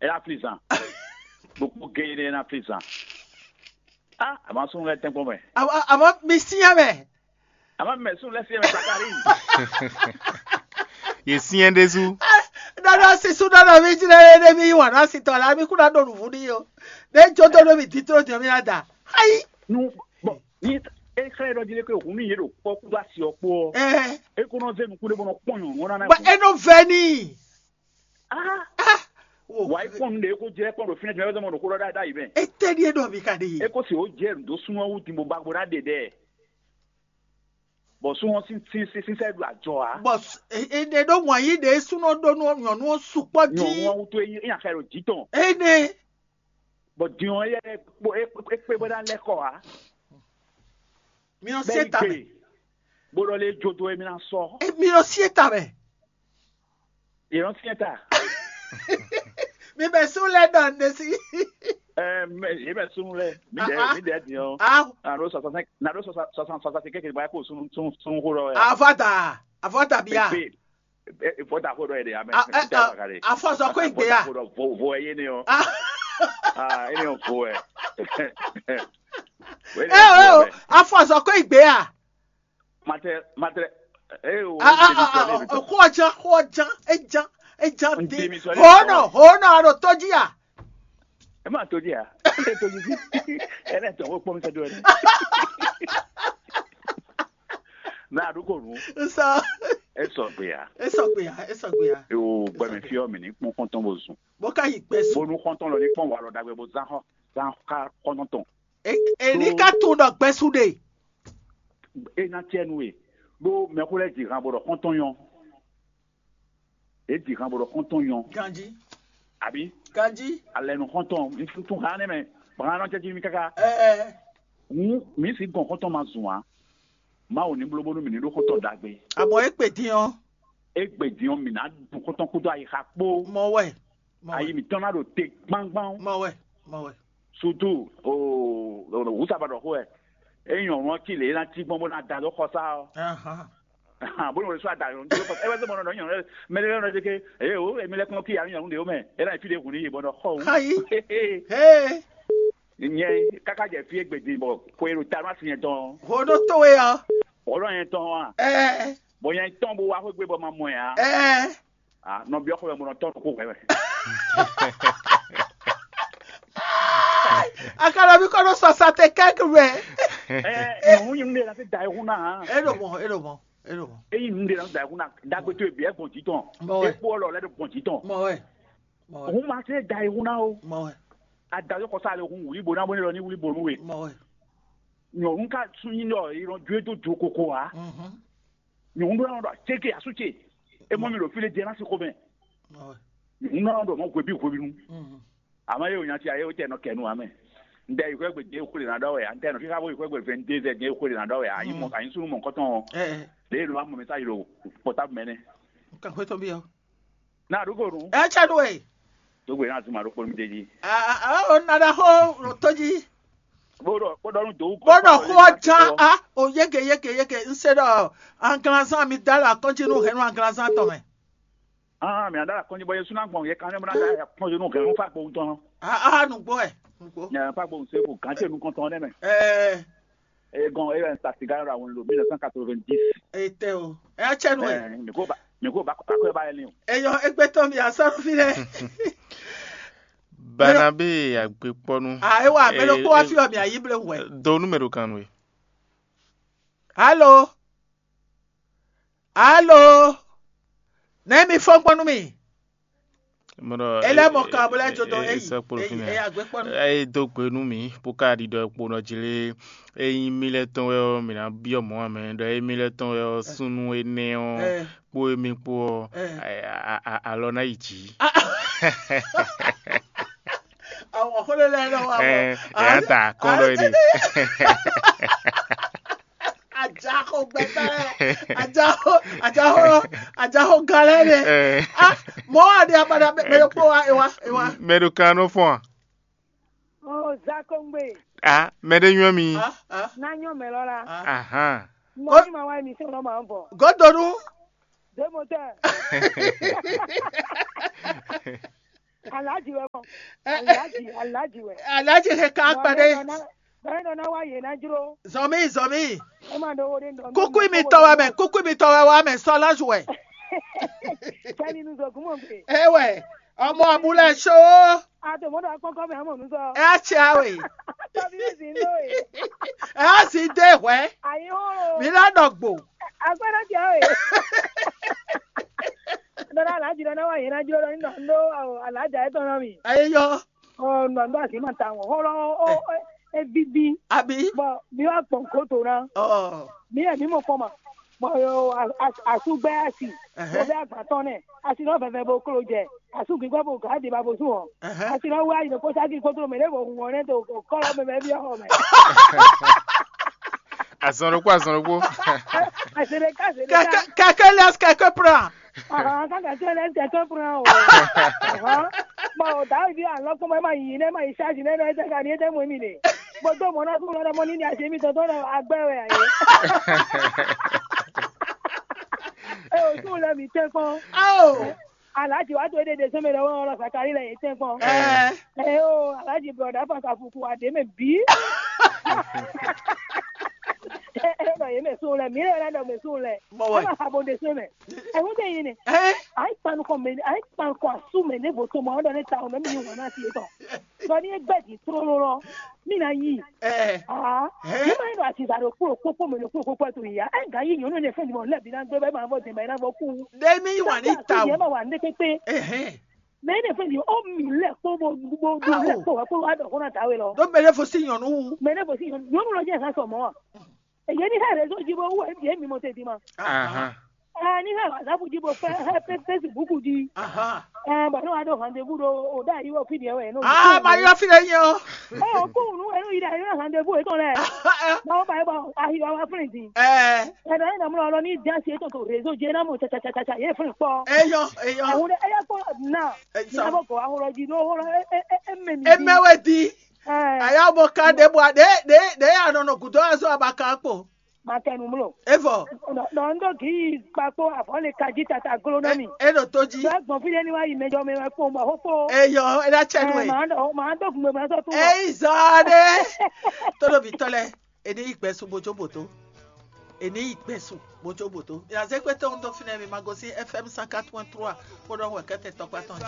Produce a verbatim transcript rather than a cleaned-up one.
É ná flí zan. Ɖokpó géé ɖé é ná flí zan. Á, àmọ́ súnnu lɛ́ɛ tɛ́nkpɔ́n mɛ. Àmọ́, àmọ́ mi syɛ́n mɛ. Àmọ́ mɛ súnnu lɛ́ɛ syɛ́n mɛ Zakari. Yě syɛ́n ɖésú. Nɔnɔ sísú nɔnɔ mi jlɛ́ ɖé mi yí wǎn ná si tɔn la mi kú ná ɖo nǔvú n'i o. Ɖé jó dó ɖó mi dín tló jɔ mi ná da. Ayi. Nu bɔn ní é xlɛ́ ɖɔ jí lé pé hǔn nú yě ɖo kpɔ́ kúdó asi ɔ́ kpó ɔ́, Ɛ é kó nɔ zé nukún ɖé bó nɔ kpɔ́n nyɔ̌nu ɔ́ ná ná bɔ é nɔ vɛ n'i. Ah. Ah. Wo. Wǎ yi kpɔ́n nu ɖě é kó jlɛ́ kpɔ́n ɖo fínɛ́ jɔ́ ɔ́ mɔ ɖo xó ɖɔ ɖ'ayǐ mɛ. Etɛ́ ɖíe ɖɔ mi ka ɖe É yě. Kó se wǒ jɛ nǔ dó súnnu ɔ́ wú din bó ba bó ná ɖe ɖɛ. Bɔ súnnu ɔ́ sín sín sín sín sɛ́ ɖo ajɔ ǎ. Bɔ s- e- e- ɖe ɖó wǎn yí ɖě súnɔ ɖó nú nyɔ̌nu ɔ́ sukpɔ́ Nyɔ̌nu jí. Ɔ́ wútu é nyí é nya xɛ ɖo jǐ tɔn. Énɛ́. Bɔ din ɔ́ yɛ é kpé bó ná lɛ́ kɔ ǎ. Mi nɔ Bɛ́ sí yi éta mɛ. Gbe bó ɖɔ lé jó dó é mi ná sɔ́. E- Mi nɔ sí éta mɛ. Yě nɔ syɛ́n ta. Mi bɛ sú lɛ dɔn ɖe sí. Ɛ mɛ yě mɛ súnnu lɛ. Mi dɛ Ah, ah. Mi dɛ din ɔ́. Ah, Na ɖó sɔsɔ sɛn na ɖó sɔsɔ sɔsɔ sɔsɔ sɛn kékeré bá kó súnnu súnnu súnnu xó ɖɔ wɛ. avɔ da. Avɔ da bia. Pépé. Vɔta xó ɖɔ yɛ de amɛ. Ah, eh, ah, afɔ sɔ kó igbe ya. Xó ɖɔ vo vo ɛ yé ne ɔ́. Ah, Ah, yé ne ɔ́ vo ɛ. eh, eh, oh, afɔ sɔ kó igbe ya. Matɛ matɛ. Ee o. Ah, ah, ah, ah, oh, kó jan, kó jan, e jan, e jan N di. temi sɔ lé Hono, sɔ. Hono, ano toji ya. Ẹ máa tó di à. Ẹ tó di sí. Ẹ lẹ tọ̀ wọ́n pọ́n mi sọ́dọ̀ ẹ. Mẹ àdúgbò nù. Sọ. Ẹ sọ pé à. E sọ gbe ya, e sọ gbe ya. O gbẹmí fi ọ́ mi ní kpọ́n kọ́ntọ́n bó zùn. Bó ká yí gbẹ Bó sùn. nú kọ́ntọ́n lọ ní kpọ́n wà lọ dàgbẹ́ bó zán hàn zán ká kọ́ntọ́n tán. E- Èlí ká tún ɖɔ gbɛsú ɖe. E ná tiẹ̀ nu e. Ɖó mɛxó lɛ dzi han bó ɖɔ kɔntɔn yɔn. E dzi han bó ɖɔ kɔntɔn yɔn. Ganji, Àbí ganji. Alɛ nu kɔntɔn mi tún tún han ne mɛ. Bàbá náà jẹ́ jí mi káká. Ɛ ɛ. Hǔn mi sì gɔn kɔntɔn ma zùn á. Má wò ní blóbónú mi ní ɖó kɔntɔn dàgbé. Àmọ́ é pè dín ɔ́. E gbè dín ɔ́ mi ná dun kɔntɔn kúdó ayixa kpó. Mɔ wɛ. Mɔ Ayi wɛ. Mi tɔn ná ɖo te gbangban. Mɔ wɛ. Mɔ wɛ. Surtout o wúsàbà ɖɔ xó ɛ. E nyɔ̌nu ɔ́ ci lě e ná cí gbɔn bó ná da dó xɔsá ɔ́. Ahan. Bó ní wòle sɔ́ ada yɔ̌nu tó kɔ ɛ wá sɛ mɔ nɔ nyɔ̌nu mɛ lɛ́ɛ nɔ dé ké eye o èmi lɛ́ kún kí yǎ nyɔ̌nu ɖe ó mɛ é ná yi fí ɖé hǔn ní yi bɔ nɔ xɔ wú. Ayi. Hee. Nyɛ káká jɛ fí égbé din bɔ xwe ɖo ta nú asi nyɛ tɔn Hono towe ɔ. Xɔ nɔ nyɛ tɔn wa Ɛ. Bɔ nyɛ tɔn bo wá xwé gbé bɔ ma mɔ ɛ á Ɛ. Ah, nɔ biɔ xɔ mɛ mo nɔ tɔn ɖo xó hwɛ mɛ. Akalabi kɔnɔ sɔ sate kɛki wɛ. Ɛ nyɔ̌nu nyɔ̌nu ɖe la fi da ehun na hàn. Eɖo mɔ, eɖo mɔ, eɖo mɔ. Eyi nu ɖe la fi da ehun na dagbe to ebi ɛgbɔn jitɔn. Mɔ wɛ. Ekpo ɔlɔ lɛ ɖo gbɔn jitɔn. Mɔ wɛ. Mɔ wɛ. Òun ma se da ehun na o. Mɔ wɛ. Adayɔ kɔsa le hun wuli bo na bo ne lɔ ni wuli bo nu we. Mɔ wɛ. Nyɔnu ka sun nyi lɔ yi lɔ ju edo jo koko wa. Mhm. Nyɔnu ɖo lɔ ɖɔ tseke asu tse. E mɔ mi ɖo fi le jɛ na si xo mɛ. Mɔ wɛ. Nyɔnu ɖo mɔ hwebi hwebi nu. Mhm. Ama ye o nya ti aye o tɛ nɔ kɛ nu amɛ. N tɛ yi xɔ egbe je xwle na ɖɔ wɛ a n tɛ nɔ fi xa bo yi xɔ egbe vingt-deux heures je xwle na ɖɔ wɛ a yi mɔ a yi sunu mɔ kɔtɔn. Ɛ. Le lo amɔ mɛ sa yi lo portable mɛ nɛ. Ka xwe tɔn bi ɔ. Na ɖu ko nu. Ɛ tsɛ nu e. Dogbe na zuma ɖo kpɔnu de ji. A a o na ɖa xo lo to ji. Bo ɖɔ bo ɖɔ nu do. Bo ɖɔ xo jan a o yeke yeke yeke n se ɖɔ anglanzan mi da la kɔnji nu hɛn nu anglanzan tɔn mɛ. Ah, mi ada la kɔnji bɔ yesu na gbɔn ye kan ne mo na da kɔnji nu hɛn fa gbo ŋutɔ. A a nugbo ɛ nugbo. Nya fa gbo se ko kan se nu kɔntɔn ne mɛ. Ɛɛ E gɔn e yɛ n sa siga ra won lo mille neuf cent quatre-vingt-dix. Ete o. Ɛ tsɛ nu e. Eh, mi ko ba mi ko ba ko ba yɛ ni o. Eyɔ egbe tɔn mi asɔrɔ fi dɛ. Banabe agbekpɔnu. A ewa mɛ ɖo kpɔ wa fi ɔ mi ayi ble wɛ. Do numero kan we. Alo. Alo. Ne mi fɔn kpɔnu mi. Mɔdɔ Ele mɔ kan bo lɛ jo dɔn eyi. Eyi agbekpɔnu. Eye do gbe nu mi po ka ɖiɖɔ ekpo nɔ dzi le eyi mi lɛ tɔn wɛ ɔ mi na biɔ mɔ amɛ ɖɔ eyi mi lɛ tɔn wɛ ɔ sunu enɛ ɔ Eh. Kpo emi kpo ɔ, Eh. a- a- a- alɔ ná yi dzi. Àwọn xɔlɛ lɛ lọ wa. Ɛ ɛ ata kɔn lɔ yi de. Ajaxɔ gbɛgbɛ. Ajaxɔ ajaxɔ ajaxɔ galɛ de. Ɛ Ah, mɔ wa de abada mɛ mɛ kpo wa ewa ewa. Mɛ ɖo kan nɔ fɔn a? Oh, Zakongbe. A mɛ ɖe nyɔ mi. Ah ah Nanyo mɛ lɔ la. ah. Ahan. Mo ni ma wa émission lɔ ma bɔ. Godonu. Deux moteurs. Alhaji wɛ mɔ. Alhaji, Alhaji wɛ. Alhaji he kan kpa ɖe. Bɔn nɔ na wa yě ná jró. Zɔmi, zɔmi. Ema ɖo wo ɖe nɔ. Kuku mi tɔ wɛ mɛ, kuku mi tɔ wɛ wa mɛ sɔ lɔzu wɛ. Kɛmi nu zɔgun mɔ gbe. Ewɛ, ọmọ abúlé ṣó. A to mɔ ɖo akpɔkɔ mɛ amɔ nu sɔ. Ɛ á tse awe. Tɔbi mi zin do e. Ɛ á zin dé hwɛ. Ayi hɔn. Mi lá ɖɔ gbo. Agbɛnɛ tse awe. Dɔdɔ alhaji dɔ na wa yě ná jró dɔ ní dɔ ní ɖó alhaji ayé tɔn nɔ mi. Ayé yɔ. Ɔ nɔ ní dɔ asi ma ta ŋɔ hɔlɔ ɔ ɔ e bibi. Abi. Bɔn mi wa gbɔn koto na. Ɔ. Mi yɛ mi mɔ kɔn ma. Bɔn yo asu gbɛ asi. Ɛhɛn. Mo bɛ agba tɔn nɛ. Asi nɔ vɛvɛ bo klo jɛ. Asu gbígbɛ bo gǎ di ba bo sún ɔ. Ɛhɛn. Asi nɔ wá yi ɖo kó sáki kótó mɛ ɖé bo hun ɔ nɛ to kɔlɔ mɛ mɛ bi ɔ mɛ. Azɔn ɖokpó, azɔn ɖokpó. Asi ɖe ká asi ɖe ká. Quelqu'un quelqu'un laisse quelqu'un prend. Ahan, kaka tí o lè tẹ̀tọ́ fúnra o. Ahan. Bɔn o da ibi alɔkpɔmɔ ɛ ma yi ne ma yi ṣáàjì ne ɛ tɛ ka ni ɛ tɛ mɔ mi de. Bó dó mɔ náà fún lọ́dọ̀ mọ́ ní ní àṣẹ mi tọ́tọ́ lọ agbẹ́ rẹ̀ àyè. Ẹ o tún lẹ mi tẹ́ kpọ́n. Ao. Alhaji wa to ede de sɛmɛ lɛ wɔn lɔ sakari lɛ yɛ tɛ kpɔn. Ɛɛ. Ɛ o alhaji brɔda fasa fuku wa de mɛ bi. Ɛ ɛ nɔ yɛ mɛ sun lɛ mi lɛ lɛ nɔ mɛ sun lɛ. Mɔ wɛ. Ɛ ma ha bo de sɛmɛ. Ɛ ŋun de yin ne. Ɛɛ. Ayi kpanu kɔ mɛ ayi kpanu kɔ asu mɛ ne bo to mɔ ɔdɔ ne ta o mɛ mi yi wɔn na si etɔ. Dɔ ni egbe di trolo lɔ mi na yi. Ɛɛ. Aa Ɛɛ. ne ma yi nɔ asiza ɖo kpó kpókpó mɛ ɖo kpó kpókpó to yi ya. Ɛ ga yi nyɔnu ne fɛn di mɔ lɛ bi na gbé bɛ ma bɔ dɛmɛ na bɔ kú. Ɖe mi yi wà ní ta Yɛ o. ma wà ní kékpé. Ɛhɛn. Mɛ ne fɛn di o mi lɛ kpó bɔ gbogbo Awo. lɛ kpó wɛ kpó wa dɔ kó na ta we lɔ. Ɖo mɛ ɖe fo sí nyɔnu wu. Mɛ ne fo si nyɔnu lɔ jɛ ha sɔ mɔ wa. Eye ni ha réseau ji bo wu ye mi mɔ te di ma. Ahan. Ɛ ni ha WhatsApp ji bo fɛ ha fe Facebook ji. Ahan. Ɛ bɔ ne wa ɖo rendez-vous ɖo o da yi wɔ fi diɛ wɛ no. Aa ma yɔ fi ɖe nyɛ o. Ɔ ko nu enu yi da yi rendez-vous etɔn lɛ. Ma wo ba yi bɔ ahi wa wa flin di. Ɛɛ. Ɛ dɔ ne dɔ mlɔ lɔ ni da si etɔn to réseau ji na mo tsa tsa tsa tsa ye flin kpɔ. Eyɔ eyɔ. Ɛwɔ ɖe eya kpɔ na. Ɛ Ina sɔ. bɔ gɔ ahorɔ ji ɖo hɔrɔ e e e e mɛ mi. Eme wɛ di. Ɛ Aya bɔ ka ɖe bɔ ɖe ɖe ɖe anɔ nɔ gudɔ azɔ abaka kpo. Ma kɛ nu mlo. Evɔ. Dɔ n do gi kpakpo avɔ le kaji tata glo na mi. E ɖo to ji. Dɔ gbɔn fi ɖe ni wa yi mɛjɔ mɛ wɛ kpo mɔ xo kpo. Eyɔ ena tsɛ nu Ɛ e. ma dɔ ma do gun mɛ ma sɔ tun. Eyi zɔ ɖe. Todo bi tɔ lɛ. Eni yi gbɛsu bojo boto. Eni yi gbɛsu bojo boto. Yazɛ kpɛtɛ ŋutɔ fi nɛ mi ma gosi F M cent quatre point trois. Kpɔɖɔ wɛ kɛtɛ tɔkpa tɔn.